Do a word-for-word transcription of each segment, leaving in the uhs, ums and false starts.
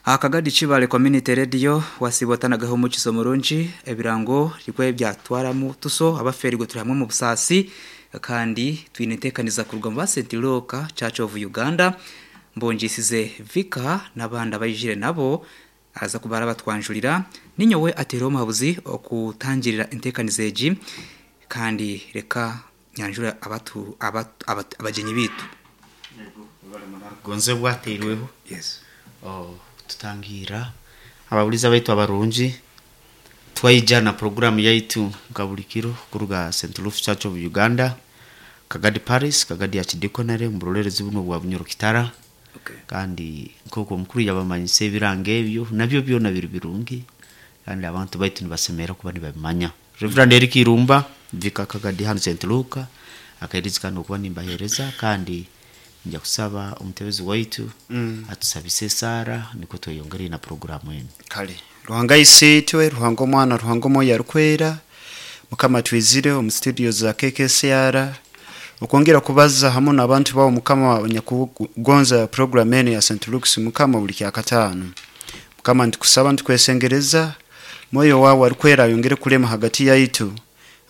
Akagadi Kibale Community Radio wasibwatanagaho umukizo murungi ebirango rikwe byatwaramu tuso abaferirwe turi hamwe mu busasi kandi twinetekaniza kuruga mu Saint Luke Church of Uganda mbonjisize Vika n'abandi abayijire nabo aza kubara batwanjurira ninyowe atero muhabuzi okutangirira intekanizo egi kandi reka nyanjura abatu abatu abatu- abagenyi bitu. Gonze bwateirweho. Yes. Oh, tutangira ababuliza baitu abarungi twaija na programu yaitu nka buli kiro kuruga Saint Luke Church of Uganda, Kagadi Paris, Kagadi Archdeaconry mu burolerezi buno bwa Bunyoro Kitara. Okay. Kandi nk'oku omukuru yabamanyisa ebiranga ebyo nabyo byona biri birungi kandi abantu baitu nibasemera kuba nibabimanya. Reverend Eric Irumba Vika Kagadi hano Saint Luke akairiza kandi okuba nimbahereza kandi nja kusaba omutebezi waitu mm. atusabise esara niko tweyongere na programu enu. Kale Ruhanga isitwe, Ruhanga omwana, Ruhanga omwoyo arukwera, Mukama twizire omu studio za K K C R okwongera kubaza hamu n'abantu bawo, Mukama, abanyakugonza program eno ya Saint Luke's, Mukama, buli kyakataano. Mukama, ntukusaba, ntukwesengereza, mwoyo wawe arukwera ayongere kulema hagati yaitu,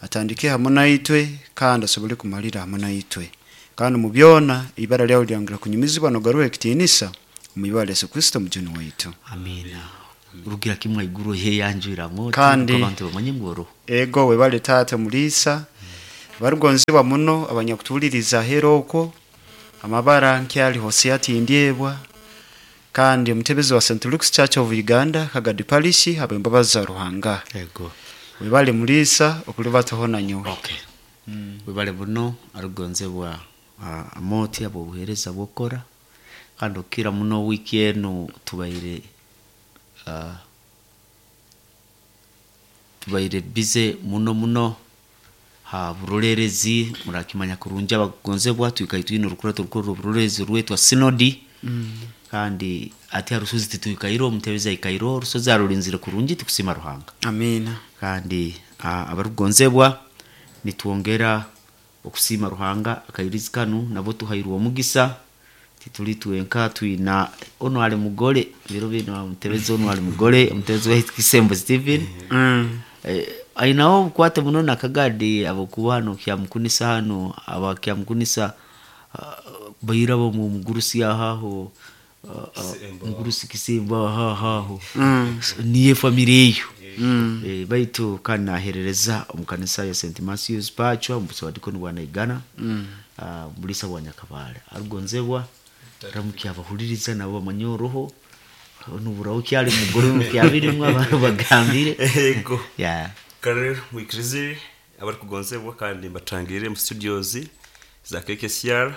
atandike hamu naitwe kandi asobole kumalira hamu naitwe, kandi mu byona ibara lyawe lyongera kunyumizibwa nogaruha ekitiinisa omu ibara lya Yesu Kristo mujuni waitu. Amina. Rugira kimwe iguru heyanjwiramu Kandi- abantu bamanye ngu oroho. Ego, webale taata Muliisa. Barugonzebwa muno abanyakutuwuliriza ahera okwo, amabara nkyali Hosea Tindyebwa kandi omutebezi wa Saint Luke's Church of Uganda, Kagadi Parish, habw'embabazi za Ruhanga. Ego. Webale Muliisa okulibataho nanyowe. Okay, webale buno arugonzebwa uh, amoti abo obuhereza bwokora kandi okira muno wiki eno tubaire uh, tubaire bize muno muno ha burolerezi. Murakimanya kurungi abagonzebwa twikaye twine orukurato rukuru oburorerezi rwetwa sinodi mm. kandi ati harusozi titwikaire omutebezi aikaire orusozi arulinzire kurungi, tukusima Ruhanga. Amiina. Kandi ah, abarugonzebwa nitwongera okusiima Ruhanga akairizi kanu nabo tuhairwe omugisa tituli twenka, twina ono ali mugole biro bino omutebezi ono ali mugole omutebezi waitu Kisembo Stephen. mm. Eh, ainaho obukwate muno nakagadi abokuba hano kyamukunisa hano abakyamukunisa uh, baira bo mu mugurusi ahaho uh, uh, mugurusi Kisembo ahaho niye family eyo. Eh, baitu kandi naherereza omu kanisa ya Saint Matthews Pachwa omu busawadikoni bwa Naigana mm. uh, mulisa bwa Nyakabale arugonzebwa ramuki abahuliriza nabo bamanye oroho nuburaho kyali mugore mukyabirimu abantu bagambire. Ego. Yeah. Kare mwikirize abarikugonzebwa kandi mbatangire mu studios za K K C R,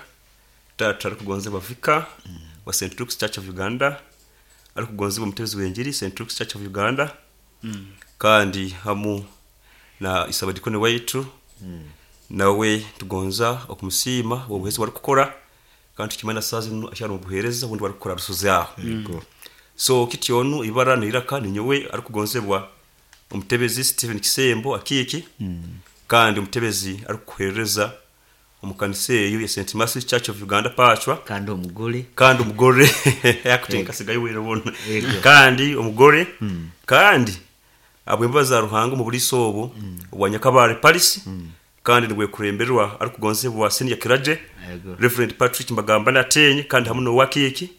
tata arikugonzebwa Vika wa Saint Luke's Church of Uganda, arikugonzebwa omutebezi w'enjiri Saint Luke's Church of Uganda, kandi hamu na isabadikoni waitu nawe tugonza okumusiima obuheereza barikukora kandi tukimanya saa zinu akyari mu buheereza obundi barikukora rusozi aho. So kityonu ibara niraka ninyowe arikugonzebwa omutebezi Stephen Kisembo Akiiki kandi omutebezi arikukuhereza omu kanisa eyo ya Saint Matthews Church of Uganda Pachwa. Kandi omugore. Kandi omugore akutenka sigayo wera bona. Ego. Kandi omugore kandi abwembaza za Ruhanga mu buliso obu obwa Nyakabare Paris kandi nibwekuremberwa arikugonzebwa senior clergy Ego. Reverend Patrick Mbagamba natenye kandi hamwe n'owakiki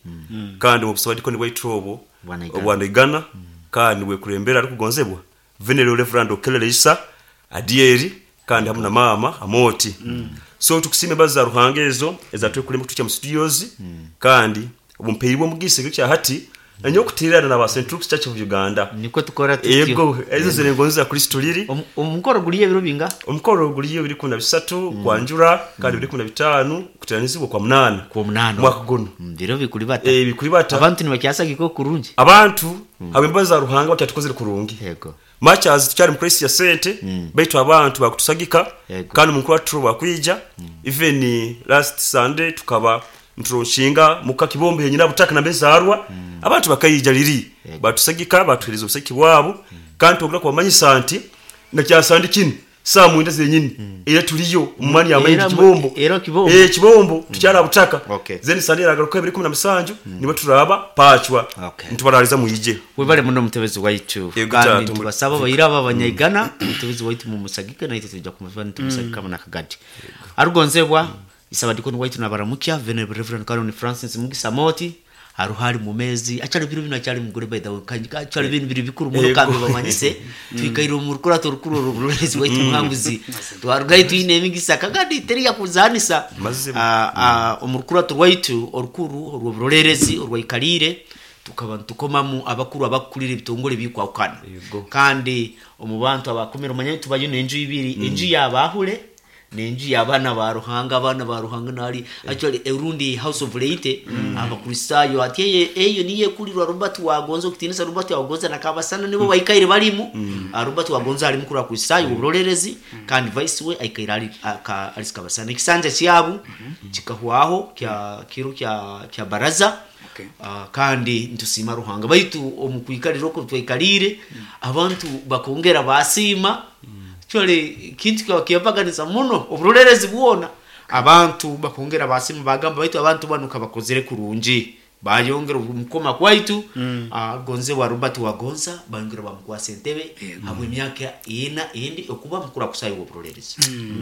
kandi mu busawadiko nibwaitu obwo Bwa Naigana. obwa Naigana kandi nibwekurembera arikugonzebwa Venerable Reverend Okelele Isa Adieri kandi hamwe na mama Amoti. So tukusime baza Ruhanga ezo ezatwekuremba kutukya mu studios kandi obumpeirwe omugisa ekyo hati nanyo okutirana na ba Saint Luke's Church of Uganda. Niko tukora tutyo. Ego, ezo zirengonzi za Kristo liri. Omu- omukoro guliyo ebiro binga? Omukoro guliyo biri kumi na bisatu kwanjura kandi biri kumi na bitaano kuteranizibwa kwa munana. Kwa munana. Mwaka guno. Mm, biro bikuri bata. Eh, bikuri bata. Abantu nibakyasagiko kurungi. Abantu abembaza za Ruhanga bakyatukozere kurungi. Yego. Much as tukyali mu crisis ya sente, baitu abantu bakutusagika. Yego. Kandi mukuru watu bakwija, even last Sunday tukaba nturonshinga muka kibombe yenyina butaka na bezarwa, abantu bakayija liri. Yego. Batusagika, batuhereza obusaki bwabo kandi tugura kubamanyisa nti nakyasandi kino Saa mwenda zenyini era tuliyo mumani ya Era mu- kibombo era Kibombo. eh kibombo tukyala butaka. Okay. Zeni sande agaruka ebiri kumi na musanju nibo turaba pachwa. Okay. Ntubaraliza muyije. Webale muno mutebezi waitu. Yego, Kandi tata, tubasaba bayira aba abanyaigana mutebezi waitu mumusagike naite tujja kumuva nitumusagika mm. Nakagadi arugonzebwa isabadikoni waitu nabaramukya Venerable Reverend Canon Francis Mugisa Moti aruhari mu mezi achali biro bino achali mugore by the way kanji achali bintu biri bikuru muno Yego. kandi bamanyise twikaire mu rukurato rukuru rurezi waitu muhanguzi twarugaye twine emigisa kagadi teri yakuzanisa. Mazima. Ah, ah, omurukurato rwaitu orukuru orw'oburolerezi orwaikalire tukaba ntukomamu abakuru abakulira ebitongole bikwakana. Yego. Kandi omu bantu abakumira omanya tubayo n'enju ibiri, enju y'abahule n'enju y'abaana ba Ruhanga. Abaana ba Ruhanga nali actually erundi house of laity abakristayo ati eye eyo niye kulirwa Robert Wagonza okutinisa Robert Wagonza nakabasana nibo baikaire balimu. Ah, Robert Wagonza ali mukuru wa Kristayo oburolerezi kandi vice we aikaire ali aka ali kabasana ekisanja kyabu kikahwaho kya kiro kya kya baraza. Okay. Ah, kandi ntusima Ruhanga baitu omukwikalira oko twaikalire abantu bakongera basima chole kintu kwa kiyapaganisa muno oburolerezi bwona abantu bakongera basima bagamba baitu abantu bano kabakozere kurungi bayongera omukoma kwaitu. Ah, gonze wa Robert Wagonza bayongera bamukwasa entebe habwe emyaka ina indi okuba mukuru akusayo oburolerezi.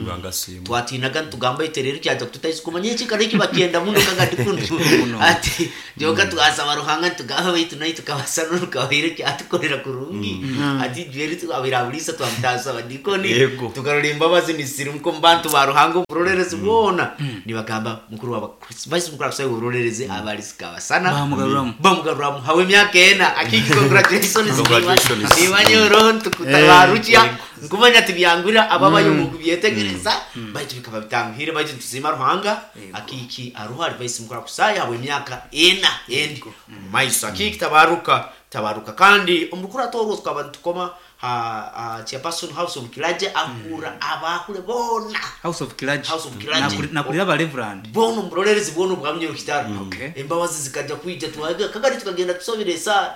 Banga simu. Twatinaga ntugamba iterero kyaja kututaisa kumanya ekikara eki bakyenda muno kagadi kuno ati joka twasaba Ruhanga ntugamba baitu naye tukabasana rukabaire kyatukorera kurungi ati jweri twabirabulisa twamutasa dikoni. Yego. Tukarora embabazi nisirimuko mu bantu ba Ruhanga oburolerezi bwona nibagamba mukuru wa vice mukuru akusayo oburolerezi abalisika basana Bamugaruramu. bamugaruramu hawe emyaka ena akiki congratulations. Congratulations. Nimanyoro ntukutabarukya nkumanya tibyangura ababayo mu kubyetegereza baitu bikaba bitanguhire baitu tusima Ruhanga akiki aruhari vice mukuru akusaya hawe emyaka ena endi maiso akiki tabaruka tabaruka kandi omukuru atorwo tukaba ntukoma ha ha chairperson house of clergy akura abakule bona House of Clergy. House of Clergy. Nakuri- nakurira aba Reverend. bona omurolerezi bwona obwamye okitaro. Okay. Embabazi zikajja kwija twaga kagari tukagenda tusabira esaara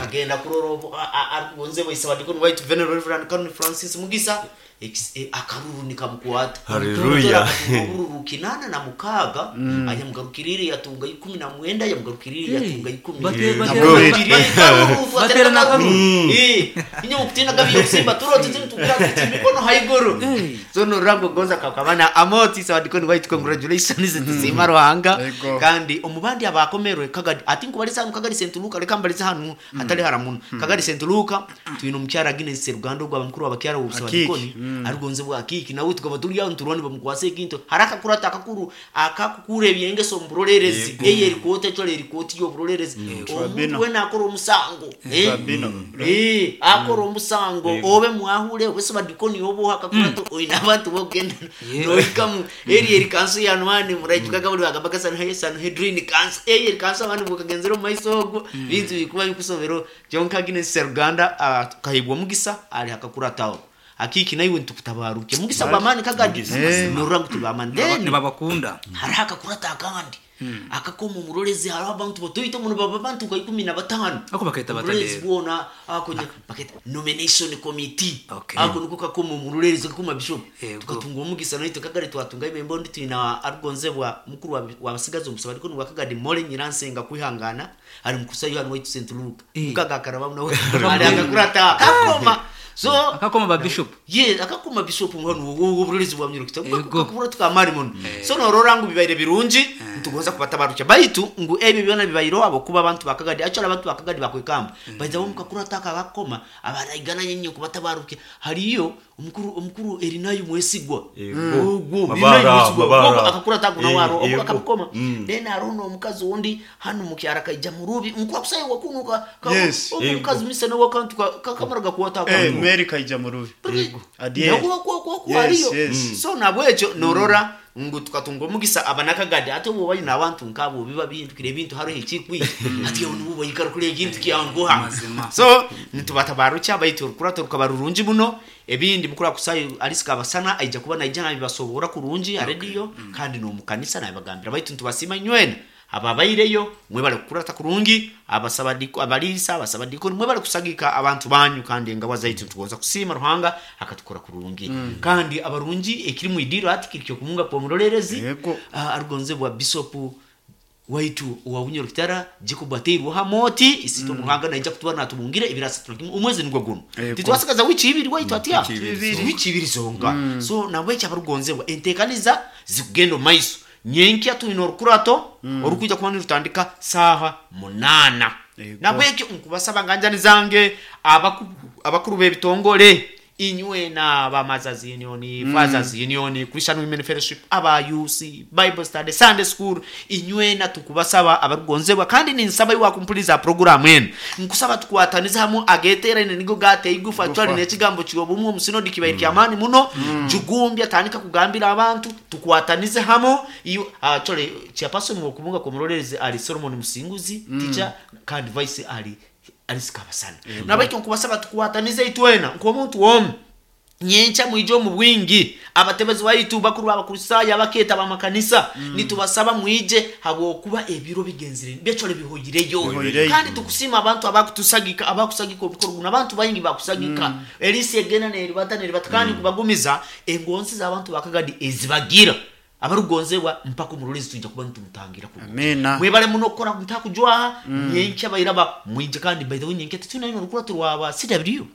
kagenda kurora obu- a- a- arugonze bwaise badikoni waitu Venerable Reverend Canon Francis Mugisa Ekis- e, akaruru nikamukwata. Hallelujah. Obururu kinana na mukaga ayamugarukirire yatunga ikumi na mwenda yamugarukirire yatunga ikumi. Bate- bate- Yamugarukirire, akaruru, Batera batera n'akaruru. Eh, inye mukutina gabi yokusimba turo tizini tugira kuti mikono haiguru. So no rango gonza kakabana amoti sawadikoni waitu congratulations tusima Ruhanga. Yego. Kandi omubandi abakomerwe kagadi ati nkubalisa hanu kagadi Saint Luka reka mbalisa hanu hatali haramuno kagadi Saint Luka twine omukyara Agnes Seruganda ogwo abamukuru abakyara obusawadikoni arugonze bwa kiki nawe tukaba turi aho nturwani bamukwasa ekintu haraka kurata akakuru akakukura ebyengeso omuburolerezi eye erikoti ecole erikoti y'oburolerezi omuntu Tribunal. wena akora omusango eh? Tribunal. Eh, akora omusango obe mwahule obe sabadikoni obo akakurato oina abantu bogenda noikamu eri eri kanso ya nwani muraijukaga buli bagamba ka Sanhe Sanhedrin kanso eri eri kanso abantu bukagenzera mu maiso ogwo bintu bikuba bikusobero John Agnes Seruganda ah, kahibwa mugisa ali akakurataho akiki naiwe ntukutabaruke mugisa bamani kagadi norura ngu tubamani then Nibabakunda. hariho akakurata akandi akakoma omurorezi hariho abantu batoito muno baba bantu nka ikumi na batano. Ako bakaita Omurorezi batadero. bwona ako nya- bakaita nomination committee. Okay. Ako niko kakoma omurorezi kakoma bishop. Yego. Tukatunga omugisa naitwe kagari twatunga emembo ndi twina arugonzebwa mukuru wa- wabasigazi omusaba ariko ni wakagadi Mole Nyiransenga kwihangana ari mukusayo hano waitu Saint Luke Eh. mukaga nawe ari akakurata kakoma so Akakoma ba bishop. ye akakoma bishop hano oburorezi bwa myurukita Yego. kakubura tukamari muno so norora ngu bibaire birungi ntugonza kubatabarucha baitu ngu ebyo byona bibaire abo kuba abantu bakagadi actually abantu bakagadi bakwekamba baiza bo mukakura taka bakoma abaraigana nyenye kubatabaruke hariyo omukuru omukuru erinayo mwesigwa Yego. ogwo Mabara, Erinayo mwesigwa. mabara. Ogwo akakura taka Eh, nawaro ogwo yego. akakoma Mm. then arono omukazi undi hano mukyara kaija murubi mukuru akusayo wakunuka Yes. ogwo omukazi misana wakantu kakamara gakuwata Eh, Mary Kaija Murubi. Adiye. Yes, Yes, yes. so nabwekyo norora ngu tukatunga omugisa abanakagadi ate obu bayina abantu nkabo biba bihindukire ebintu hariho ekikwija ati aho nibo baikara kuri ekintu kyanguha. Mazima. So nitubatabarucha baitu orukurato rukaba rurungi muno ebindi mukuru akusayo alisika abasana aija kuba naija nabibasobora kurungi ha radio kandi n'omukanisa nabibagambira baitu ntubasiima inywena Ababaireyo mwebale kukurata kurungi, abasabadiko abalisa abasabadiko mwebale kusagika abantu banyu, kandi engabwa zaitu tugonza kusiima Ruhanga akatukora kurungi. Mm. Kandi abarungi ekiri mu idiro ati kirikyo kumunga kwa murolerezi uh, arugonze bwa bishop waitu wa Bunyoro Kitara Jacob Ateirwa hamoti isito mm. Ruhanga naija kutuba natubungire ibirasa tunakimu umwezi nigwo guno titwasikaza wiki ibiri waitu atia wiki ibiri zonga. Mm. So nabwe abarugonzebwa entekaniza zikugenda maiso nyenkya tuino orukurato mm. orukuja kuba rutandika saha munana. Nabwekyo nkubasaba nganjani zange abakuru b'ebitongole inywe na ba Mothers Union, mm. Fathers Union, Christian Women Fellowship, aba U C, Bible Study, Sunday School, inywe na tukubasaba abarugonzebwa kandi ninsaba iwa kumpuliza program enu nkusaba tukwataniza hamwe agetera ine nigo gate igufa twali nekigambo kyobumwe omusinodi kibaire mm. kyamani muno. Mm. Jugumbya tandika kugambira abantu tukwatanize hamwe iyo uh, chole chairperson wokubunga komuroreze ali Solomon Musinguzi mm. teacher kandi vice ali alisikabasana. Mm. Nabaikyo nkubasaba tukwatanize itwena nkomuntu wom nyencha mwijo mu bwingi abatebezi waitu bakuru abakurisaya abaketa bamakanisa. Mm. Nitubasaba mwije habwokuba ebiro bigenzire byechole bihoyireyo kandi tukusima abantu abakutusagika abakusagika obukorwa abantu bayingi bakusagika. Mm. Elisi egena neribata neribata kandi mm. kubagumiza engonsi z'abantu bakagadi ezibagira abarugonzebwa mpaka umurolezi tujja kuba ntumutangira ku. Amina. Mwebale muno kora mutakujwa mm. nyencha bayiraba mwije kandi by the way nyencha tuna ino rukura turwaba C W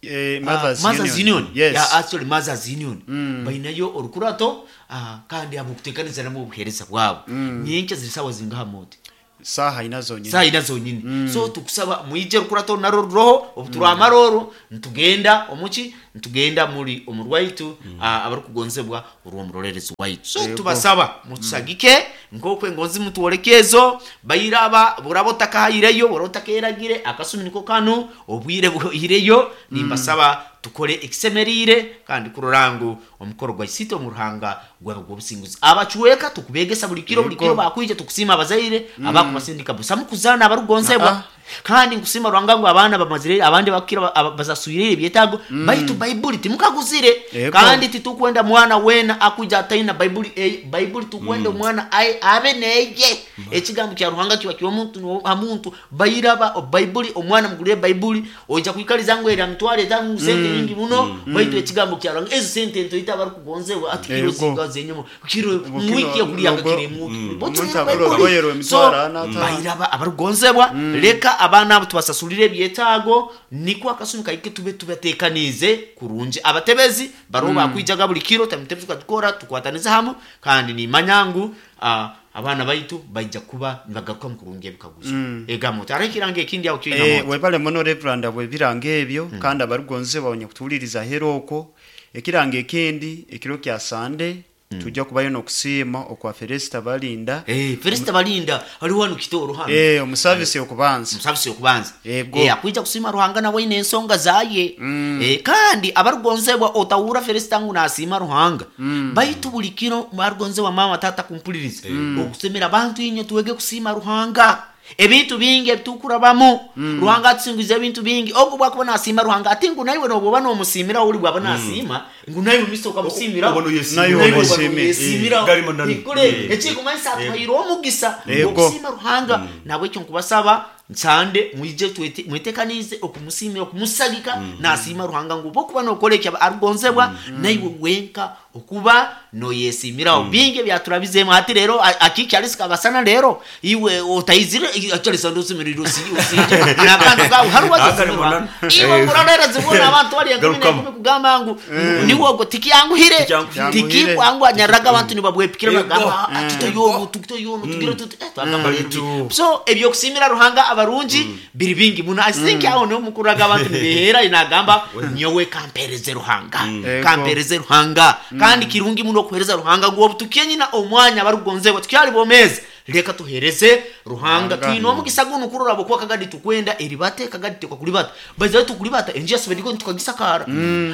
eh Mothers, uh, Mothers Union. Union. Yes. Ya actually Mothers Union. Mm. Bainayo orukurato uh, kandi abukutekaniriza namo obuhereza bwabo. Mm. Nyencha zirisawa zingaha moti saha inazo nyine saha inazo nyine. Mm. So tukusaba mwije rukurato naro roho obuturwa mm. amaroro ntugenda omuki ntugenda muri omurwaitu. Mm. uh, abarukugonzebwa urwo murorerezi waitu so Ego. Tubasaba mutusagike mm. nkokwe ngonzi mutuorekezo bayiraba burabo takahireyo borotakeragire akasumi niko kanu obwire buhireyo. Mm. Nimbasaba tukore ekisemerire kandi kurorangu omukoro gwa isito mu Ruhanga gwa gwobusinguzi abacuweka tukubegesa buli kiro buli kiro bakwije tukusima abazaire Mm. abakubasindika busamu kuzana abarugonzebwa. Ah, ah. Kandi nkusima Ruhanga ngo abana bamazire abandi bakira bazasubirire ebyetago. Mm. Baitu Bible timukaguzire. Ego. Kandi titukwenda mwana wena akuja ataina Bible eh, Bible tukwenda Mm. mwana ai abe neye ekigambo kya Ruhanga kiba kiwa muntu amuntu bayiraba Bible omwana mugulire Bible oja kwikaliza ngo era mtwale tangu sente Mm. nyingi muno. Mm. Baitu ekigambo kya Ruhanga ezo sente nto ita barukugonzewa ati kiro Ego. zingaze nyuma kiro Kino, mwiki yakuliya nogo- kire muki Mm. Botu Omuntu Bible. agura orugoye So, rw'emitwaro ana atano. bayiraba abarugonzebwa leka abaana abo tubasasulire ebyetaago niko akasumi kaike tube tubatekanize kurungi abatebezi baro mm. bakwijaga buli kiro tamutebezi katukora tukwataniza hamwe kandi nimanya ngu uh, abaana baitu baija kuba nibagaruka mu kurungi ebikaguzo. Mm. Egamo tarekirange ekindi aho kyo Eh, inamo webale muno Reverend bwebiranga ebyo. Mm. Kandi abarugonze bawonye kutuwuliriza heroko ekiranga ekindi ekiro kya Sunday. Mm. Tujja kubayo n'okusiima okwa Felista Balinda. Eh Felista Balinda ali wano kitoro hano Eh omusavisi okubanza omusavisi okubanza Ego. eh akuija kusima Ruhanga nawe ine ensonga zaye. Mm. Eh kandi abarugonzebwa otawura Felista ngu nasima Ruhanga. Mm. Baitu buli kiro barugonzebwa mama tata kumpuliriza Mm. okusemera abantu inyo tuwege kusima Ruhanga ebintu bingi ebitukurabamu. Mm. Ruhanga atsinguza ebintu bingi ogo bwakuba nasima Ruhanga ati ngu naiwe noboba nomusimira uli bwaba nasima ngu naiwe miso ukamusimira Obona uyesimira. Nayo Naiwe omusimira. obona uyesimira. Eh, garimo nani. Nikule Eh. ekikumanyisa atuhaire omugisa Ego. okusima Ruhanga nabwekyo nkubasaba nsande mwije twete mwetekanize okumusimira okumusagika nasima Ruhanga ngu bokuba nokora ekyo arugonzebwa naiwe wenka okuba noyesimiraho bingi byaturabizemu ati rero akiki alisika basana rero iwe otayizire actually sando usimiriro usi usije nakantu kawe hari Akari wazisimira munani. iwe Eh. murorera zibona abantu bali enkumi Garukamu. n'enkumi kugamba ngu niwe ogwo tikiyanguhire Tikiyanguhire. tikikwangwa nyaraga abantu nibabwepikira Ego. bagamba tutoyono tutoyono tugire tuti eh twagamba Baitu. so ebyokusimira Ruhanga abarungi biri bingi muno. I think aho niho mukuraga abantu nibehera inagamba nyowe kampereze Ruhanga Ego. kampereze Ruhanga kandi kirungi muno okuhereza Ruhanga ngu obutukie nyina omwanya abarugonzebwa tukyali bomezi leka tuhereze Ruhanga Ruhanga. twine omugisa guno kurora bwokuba kagadi tukwenda eribate kagadi tekwakulibata bazaye tukulibata enjia sebediko tukagisakara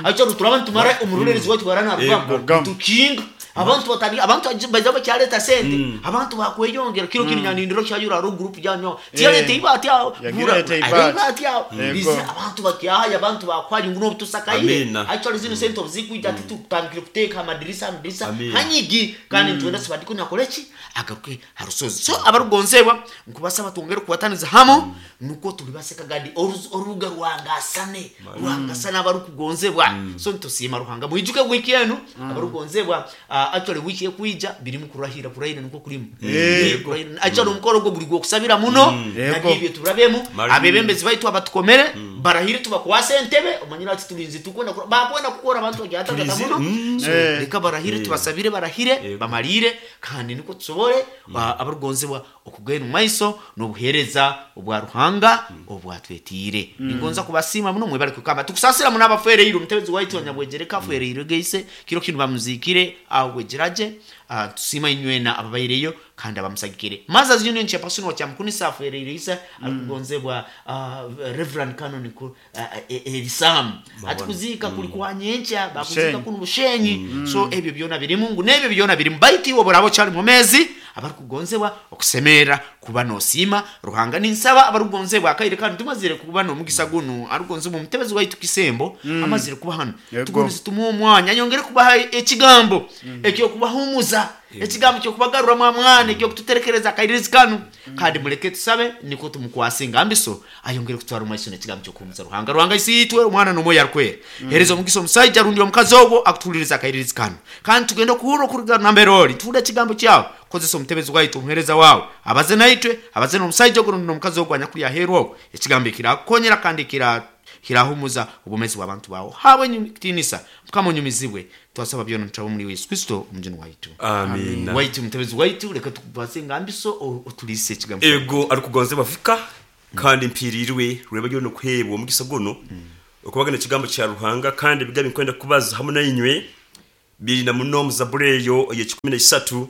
acho turaba ntumara omurorerezi waitu barana Ego. rugamba tukinga Abantu batali abantu baza bakyaleta sente, abantu bakweyongera kiro kiri nyanindiro kyayura ro group janyo tiyaleta ibati aho. Yagireta ibati. Ibati aho. Yego. Bizi abantu bakyahaya, abantu bakwali nguno butusakaire. Amina. Actually zino sente obuzikuija ati tutandikire kuteeka amadirisa amadirisa Amina. hanyigi, kandi nitwenda sibadiko nakoleki agaruke harusozi. So abarugonzebwa nkubasaba twongere kubataniza hamo, nuko tuli basekagadi Oruz- orubuga rwangasane rwangasane abarukugonzebwa. So nitusiima Ruhanga, mwijuke wiki enu abarugonzebwa, uh, actually wiki ekwija birimu kurahira, kurahira niko kurimu. Yego. Kurahira. Actually omukoro ogwo guri gwokusabira muno. Yego. Nabyo turabemu Mari- abebembezi baitu abatukomere barahire, tubakwase entebe omanyira ati tulinzi tukwenda kura- bakwenda kukora abantu bagyatagata Tulinzi, muno. So Eh. reka barahire, tubasabire barahire Yego. bamalire, kandi niko tusobole ba- abarugonzebwa okugenda mu maiso n'obuheereza obwa Ruhanga obwatwetiire. Ningonza kubasiima muno, mwebale kukamba tukusasira muno abafereire omutebezi waitu wanyabwegereka afereire geise kiro kinu bamuzikire aho bwegeraje. Ah, tusiima inywena ababaireyo kandi abamusagikire. Mothers Union chairperson wa Kyamukunisa afereire isa alikugonzebwa, ah, Reverend Canon ku- ah, eh, Elisam ati kuzika kuli kwa nyencha bakuzika Bushenyi. kuno Bushenyi. So ebyo byona birimu ngu nebyo byona birimu baitu iwe borabo kyali mumezi abarikugonzebwa okusemera kuba nosiima Ruhanga. Ninsaba abarugonzebwa akaire kandi tumazire kuba nomugisa guno arugonzebwa omutebezi waitu Kisembo amazire kuba hano. Yego. Tugonze tumuhe omwanya anyongere kubaha ekigambo ekyokubahumuza, ekigambo kyokubagaruramu amwana, ekyokututerekereza akairirizi kanu. Kandi muleke tusabe niko tumukwase engambiso ayongere kutwara omumaiso nekigambo kyokuhumuza. Ruhanga, Ruhanga isiitwe omwana nomwoyo arukwera, hereza omugisa omusaija rundi omukazi ogwo akutuhuliriza akairirizi kanu, kandi tugenda okuhurra okuruga nambere ori tuhurre ekigambo kyawe. Kozesa omutebezi waitu, omuhereza wawe, abaze naitwe, abaze n'omusaija ogwo rundi n'omukazi ogwo anyakuri aheeru ogwo ekigambo ekirakukonyera kandi ekira kirahumuza obumezi bw'abantu bawe. Hawe kitinisa Mukama, onyumizibwe. Twasaba byona nitaba muri Yesu Kristo omujuni waitu. Amina. Waitu mutebezi waitu, reka tukubaze engambiso o- otuliise ekigambo. Ego, arikugonzebwa fika kandi mpirirwe rweba ryo nokuhebwa omugisa guno okubagana ekigambo kya Ruhanga, kandi ebigambo nkwenda kubaza hamwe nainywe biri na muno mu Zaburi eyo ey'ekikumi n'isatu,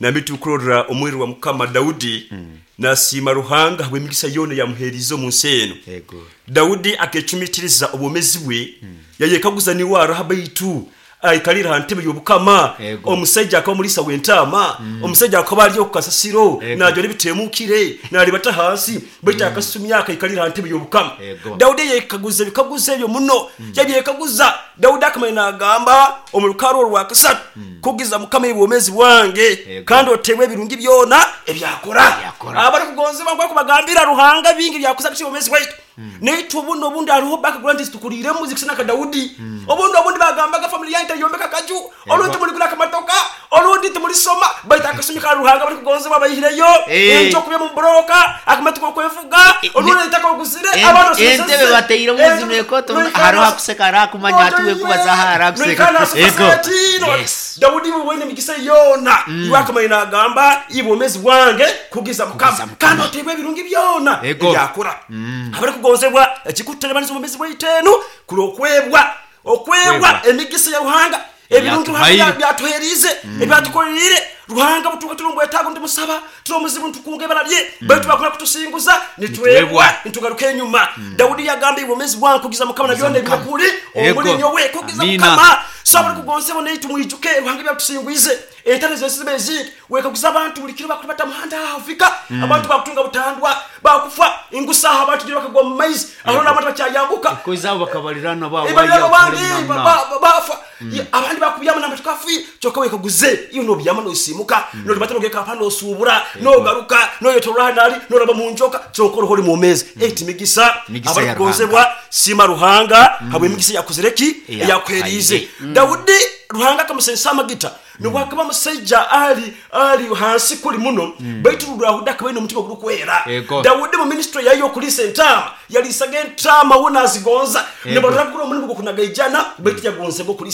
nambi tukurora omwiru wa Mukama Daudi nasiima Ruhanga habw'emigisa yona yamuherize omu nsi eno. Ego. Daudi akecumitiriza obwomezi bwe, yayekaguza niwe araha baitu aikalira ha ntebe y'obukama. Ego. Omusajja akaba omulisa w'entaama, omusajja akaba ali okukasasiro Ego. najora ebitemukire nalibata hansi, baitu akasumya akaikalira ha ntebe y'obukama. Ego. Daudi yekaguza ebikaguzo ebyo muno, yabyekaguza. Daudi akamanya nagamba omu rukaro orwa kasatu, kugiza Mukama ebwomezi bwange Ego. kandi otebwe ebirungi byona ebyakora. Ebyakora. Abarikugonzebwa nkubagambira Ruhanga bingi byakuza kuki obwomezi bwaitu naitu. Obundi obundi hariho background zitukuriremu zikusana nka Daudi. Obundi obundi bagambaga family yange tayombeka kaju, olundi tumuligura akamatoka, olundi tumulisoma, baitu akasumi ka Ruhanga barikugonzebwa bayihireyo Eh. enjo kubya mu buroka akamatuko kwevuga, olundi itaka oguzire En- abantu. Entebe bateiremu zino ekoto, hariho akuseka arakumanya ati wekubaza aha arakuseka. Ego. Yes. Daudi wene emigisa yona iwe akamanya nagamba ibwomezi bwange kugiza Mukama Mukama. kandi otebwa ebirungi byona Ego. ebyakora. Abarikugonzebwa, ekikuterebaniza obwomezi bwaitu enu kuli okwebwa okwebwa Kwebwa. emigisa ya Ruhanga, ebirungi Ruhanga Ebyatuhaire. byatuherize, ebyatukorerire Ruhanga. Butuka turi omubwetaago nitumusaba, turi omuzibu nitukunga ebara lye, baitu bakuna kutusinguza nitwebwa, Nitwebwa. nitugaruka enyuma. Daudi yagamba ibwomezi bwange kugiza Mukama na byona ebyakuri Ego. omuli nyowe kugiza Amina. Mukama. So abarikugonzebwa naitu mwijuke Ruhanga ebyatusingwize entare zensi zibe ezingi. Wekaguza abantu buli kiro bakulibata muhanda afika abantu bakutunga butandwa bakufa ingusaha abantu gira bakagwa mu maizi aho n'abantu bakyayambuka. Koizabo bakabalirana ba Ebalirano waya bandi kali ba- namna. ba- bafa. Ye, abandi bakubyama namba tukafi kyokka wekaguze iyo nobyama nosimuka nolibata nogeka apa nosubura nogaruka noyetolora nali noraba mu njoka kyokka oriho ori mumezi eti migisa. Migisa ya Abarikugonzebwa, sima Ruhanga habwe emigisa yakozereki Eyakuhaire. eyakuherize. Daudi Ruhanga akamusensa amagita nobwakaba musaija ali ali hansi kuli muno, baitu Daudi akaba aine omutima gurikwera. Ego. Daudi mu ministry yayo okulisa entaama yalisaga entaama wo nazigonza Ego. nibarora kuri omulimu gwokunaga ijana, baitu yagonzebwa okulisa.